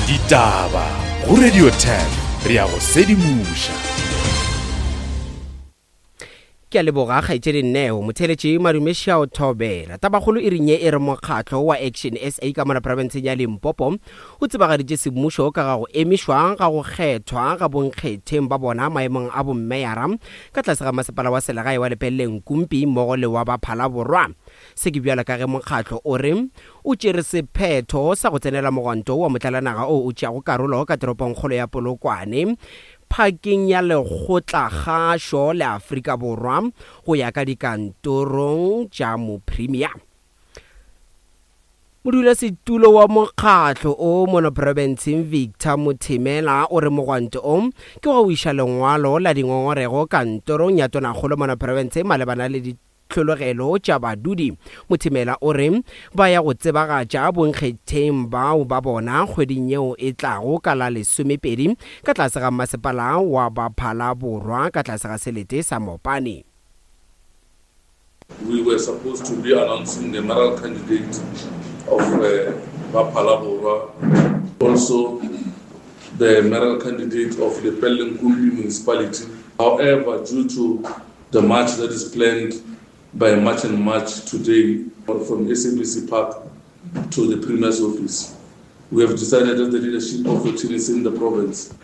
Ditaba go Radio 10 re ya go sedimoša. Ke a leboga kgaetšedi Neo. Motheeletši Madume Šao Thobela. Tabakgolo e reng ye e re mokgatlo wa Action SA ka mola profenseng ya Limpopo o tsebagaditše semmušo ka ga go emišwa ga go kgethwa ga bonkgetheng ba bona maemong a bommeyara ka tlase ga masepala wa selegae wa Lepelle Nkumpi mmogo le wa ba Phalaborwa. Se ke bjalo ka ge mokgatlo o re o tšere sephetho sa go tsenela mogwanto wa motlalanaga o o tšeago karolo ka toropongkgolo ya Polokwane phakeng ya Lekgotlakgašo la Afrika Borwa go ya ka dikantorong tša Mopremia. Modulasetulo wa mokgatlo o mono profenseng Victor Mothemela o re mogwanto o ke wa go iša lengwalo la dingongorego kantorong ya tonakgolo mono profenseng malebana le ditlhologelo tša badudi. Mothemela o re ba ya go tsebagatša bonkgetheng bao ba bona kgweding yeo e tlago ka la lesomepedi ka tlase ga masepala wa Baphala Borwa ka tlase ga selete sa Mopani. We were supposed to be announcing the mayoral candidate of uh, Baphala also the mayoral candidate of the Lepelle-Nkumpi municipality. However, due to the march that is planned by March and March today from SABC Park to the Premier's office, we have decided as the leadership of the TNC in the province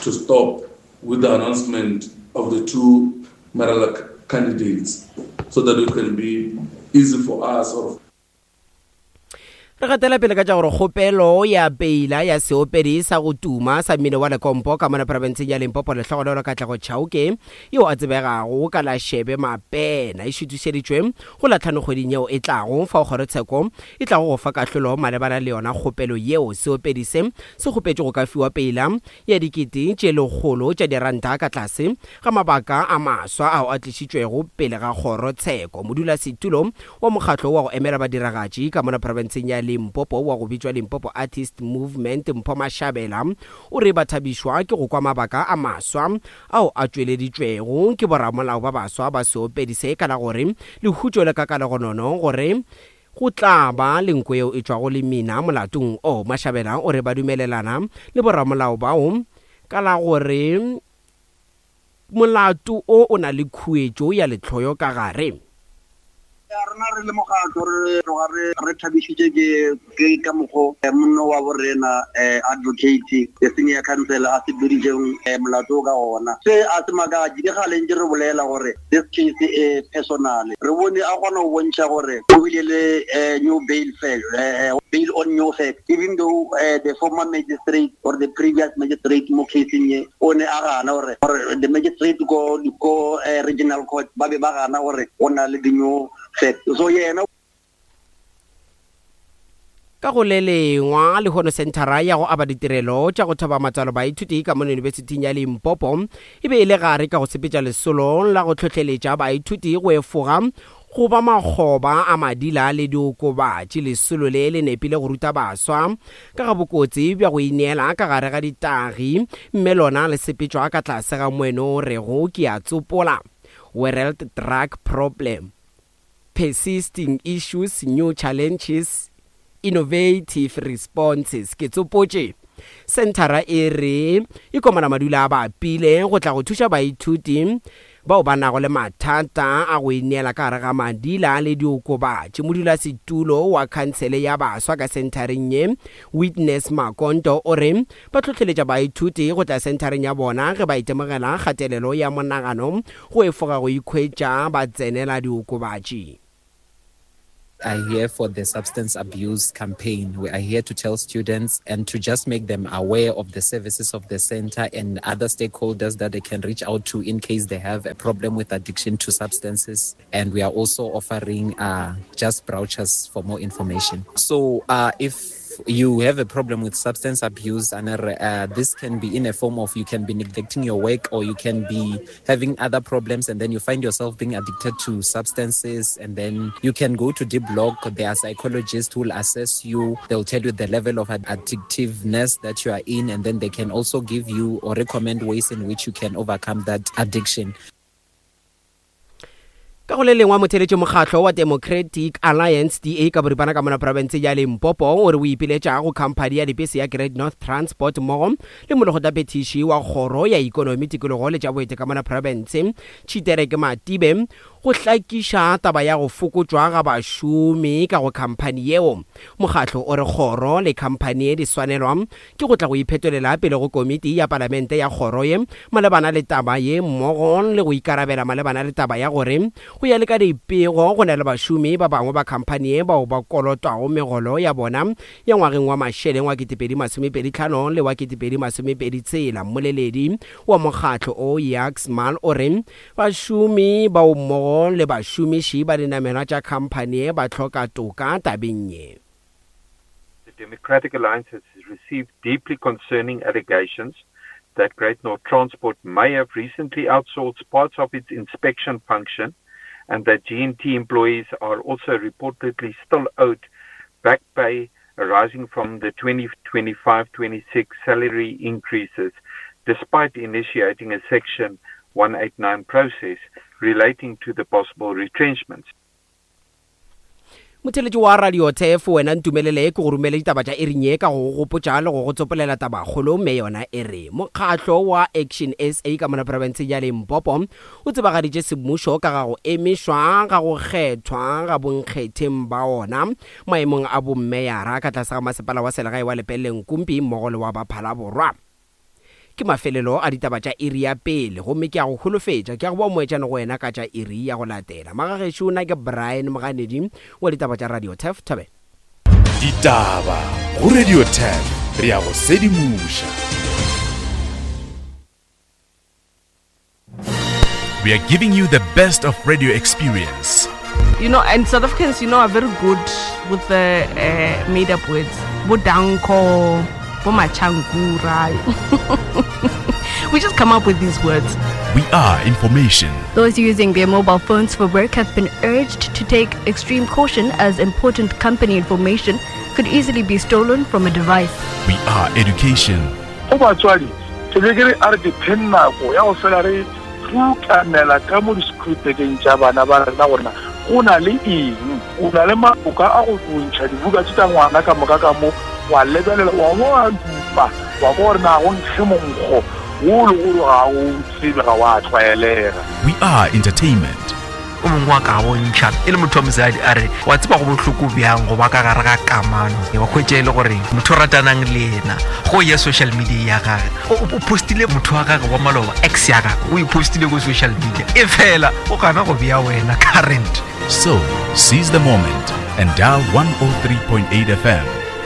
to stop with the announcement of the two mayoral candidates so that it can be easy for us or Re gatela pele ka tša gore kgopelo ya peila ya seopedi sa go tuma sa mmino wa lekompo ka mona profenseng ya Limpopo Lehlogonolo Katlego Chauke yo a tsebegago ka la Shebe Mapena e šuthišeditšwe go la tlhano kgweding yeo e tlago fao kgorotsheko e tlago go fa kahlolo malebana le yona kgopelo yeo. Seopedi se se kgopetše go ka fiwa peila ya dikete tše lekgolo tša diranta ka tlase ga mabaka a maswa ao a tlišitšwego pele ga kgoro tsheko. Modulasetulo wa mokgatlo wa go emela badiragatši ka mona profenseng ya Limpopo wa go bitšwa Limpopo Artist Movement Mpho Mashabela o re ba thabišwa ke go kwa mabaka a maswa ao a tšweleditšwego ke boramolao ba baswa ba seopedi se ka la gore lehutšo le ka ka legonono gore Go tla ba le nko yeo e tšwago le mina molatong o. Mashabela o re ba dumelelana le boramolao bao ka la gore molato o o na le khuetšo ya lehloyo ka gare. Ya rena re le mokgatlo re tloga re re thabišitše ke ke ka mokgo monna wa borena advocate the senior counsel a sepeditšeng molato o ka gona. Se a se makatše ke kgale ntše re bolela gore This case e personal. Re bone a kgona go bontšha gore o bile le new bail fact, bail on new fact even though the former magistrate or the previous magistrate mo caseng ye o ne a gana gore gore the magistrate ko ko regional court ba be ba gana gore go na le di-new fact. So yena Ka go le lengwa, lehono senthara ya go aba ditirelo tša go thoba matswalo baithuti ka mono Yunibesithing ya Limpopo e be e le gare ka go sepetša lesolo la go hlohleletša baithuti go efoga go ba makgoba a madila le diokobatši. Lesolo le le nepile go ruta baswa ka ga bokotsi bja go ineela ka gare ga ditagi mme lona le sepetšwa ka tlase ga moeno o rego ke a tsopola, World Drug Problem. Persisting Issues, New Challenges, Innovative Responses. Ke tsopotše. Senthara e re e komana madula a bapile go tla go thuša baithuti bao ba nago le mathata a go ineela ka gare ga madila le diokobatši. Modulasetulo wa khansele ya baswa ka senthareng ye, Witness Makonto, o re ba hlohleletša baithuti go tla senthareng ya bona ge ba itemogela kgatelelo ya monagano go efoga go ikhwetša ba tsenela diokobatši. Are here for the substance abuse campaign. We are here to tell students and to just make them aware of the services of the center and other stakeholders that they can reach out to in case they have a problem with addiction to substances. And we are also offering uh, just brochures for more information. So uh, if you have a problem with substance abuse, and uh, this can be in a form of you can be neglecting your work or you can be having other problems, and then you find yourself being addicted to substances. And then you can go to Deep Block. There are psychologists who will assess you. They'll tell you the level of addictiveness that you are in, and then they can also give you or recommend ways in which you can overcome that addiction. Ka go le lengwe motheletši mokgatlo wa Democratic Alliance, DA, ka boripana ka mona profense ya Limpopo o re o ipiletša go khamphani ya dipese ya Great North Transport mmogo le molekgotlaphethiši wa kgoro ya ikonomi, tikologo le tša boeti ka mona profense Tshitereke Matibe go hlakiša taba ya go fokotšwa ga bašomi ka go khamphani yeo. Mokgatlo o re kgoro le khamphani ye di swanelwa ke go tla go iphetolela pele go komiti ya palamente ya kgoro ye malebana le taba ye mmogo le go ikarabela malebana le taba ya gore go ya le ka dipego go na le bašomi ba bangwe ba khamphani ye bao ba kolotwago megolo ya bona ya ngwageng wa mašeleng wa 2025 le wa 2026. Mmoleledi wa mokgatlo o Jacques Mal o re bašomi bao mmogo le bašomiši ba dinamelwa tša khamphani ye ba hloka toka tabeng ye. The Democratic Alliance has received deeply concerning allegations that Great North Transport may have recently outsourced parts of its inspection function and that GNT employees are also reportedly still owed back pay arising from the 2025-26 salary increases, despite initiating a Section 189 process relating to the possible retrenchments. Motheletši wa Radio Turf, wena ntumelele ke go romele ditaba tša iring ye ka go go gopotša le go go tsopolela tabakgolo mme yona e re mokgatlo wa Action SA ka mona profenseng ya Limpopo o tsebagaditše semmušo ka ga go emišwa ga go kgethwa ga bonkgetheng ba ona maemong a bommeyara ka tlase ga masepala wa selegae wa Lepelle Nkumpi mmogo le wa ba Phalaborwa. Ke mafelelo a ditaba tša iri ya pele, gomme ke a go holofetša, ke a go boa moetšane go wena ka tša iri ya go latela. Magagešo, nna ke Brian Moganedi wa ditaba tša Radio Turf. Thobela. Ditaba go Radio Turf, re a go sedimoša. We are giving you the best of radio experience. You know, and South Africans, you know, are very good with the uh, made up words. Bodanko, Bomachankura. we just come up with these words. We are information. Those using their mobile phones for work have been urged to take extreme caution as important company information could easily be stolen from a device. We are education. Go batswadi, ke be ke re a re dipheng nako ya go fela re rutamela ka mo di-schoolbageng tša bana ba rena gore na go na le eng. O na le maloka a go ntšha dibuka tše tša ngwana ka moka ka mo, wa lebelela, wa bo wa dupa, wa kwa gore na go nkge monkgo wo le gore ga o tsebe, ga wa tlwaelega. We are entertainment. O mongwe wa ka bontšha e le motho wa mosadi a re wa tseba go bohloko bjang go ba ka gare ga kamano wa kgwetša e le gore motho o ratanang le yena go ya social media ya gage o postile motho wa gage wa maloba ex ya gage o e postile ko social media e fela o gana go bea wena current. So, seize the moment and dial 103.8 FM.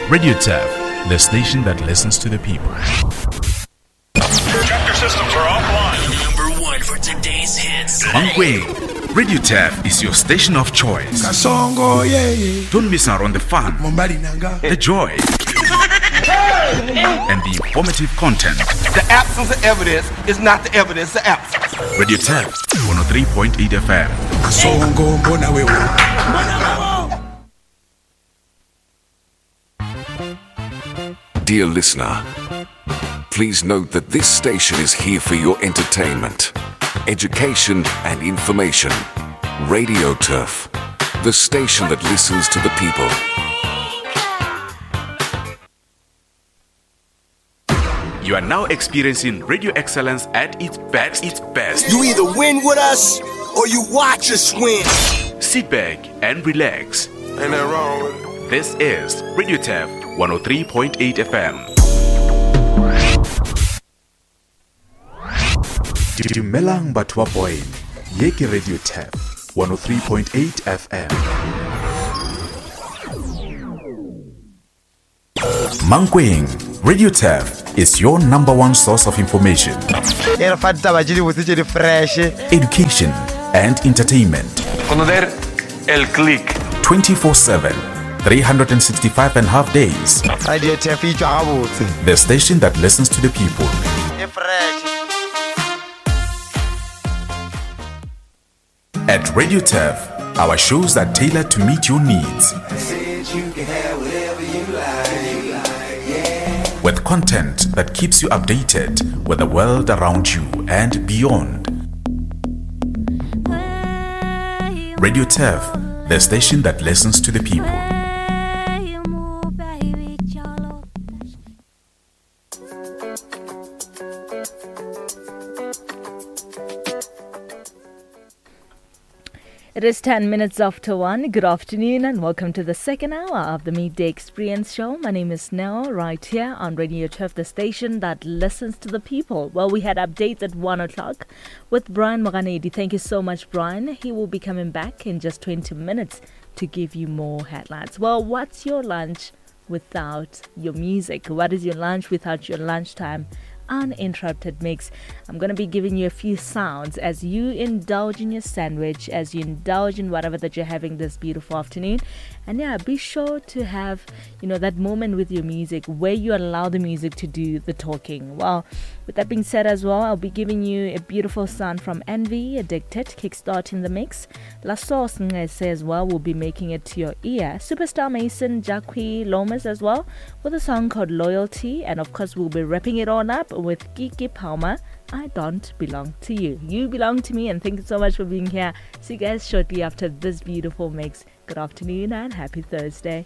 Radio Turf, the station that listens to the people. Chapter systems are offline. Number one for today's hits. Mankweng, Radio Turf is your station of choice. Kasongo, yeah, yeah. Don't miss out on the fun, the joy, and the informative content. The absence of evidence is not the evidence of absence. Radio Turf, 103.8 FM. Kasongo, mbona wewe. Dear listener, please note that this station is here for your entertainment, education, and information. Radio Turf, the station that listens to the people. You are now experiencing radio excellence at its best. Its best. You either win with us or you watch us win. Sit back and relax. Ain't that wrong with it? This is Radio Turf 103.8 FM. Dumelang batho ba Boyne. Ye ke Radio Turf 103.8 FM. Mankweng, Radio Turf is your number one source of information. E re fa ditaba tše dibotse tše di fresh. Education and entertainment. Conocer el click. 24/7, 365 and a half days. Radio Turf e tšwa gabotse. The station that listens to the people. E fresh. At Radio Turf, our shows are tailored to meet your needs. With content that keeps you updated with the world around you and beyond. Radio Turf, the station that listens to the people. It is 10 minutes after 1. Good afternoon and welcome to the second hour of the Midday Experience Show. My name is Nell, right here on Radio Turf, the station that listens to the people. Well, we had updates at 1 o'clock with Brian Moganedi. Thank you so much, Brian. He will be coming back in just 20 minutes to give you more headlines. Well, what's your lunch without your music? What is your lunch without your lunchtime? Uninterrupted mix. I'm going to be giving you a few sounds as you indulge in your sandwich, as you indulge in whatever that you're having this beautiful afternoon. And yeah, be sure to have, you know, that moment with your music where you allow the music to do the talking. Well, with that being said as well, I'll be giving you a beautiful sound from Envy, Addicted, kickstarting the mix. La Source as well will be making it to your ear. Superstar Mason, Jacqui Lomas as well with a song called Loyalty. And of course, we'll be wrapping it all up with Keke Palmer. I don't belong to you. You belong to me, and thank you so much for being here. See you guys shortly after this beautiful mix. Good afternoon and happy Thursday.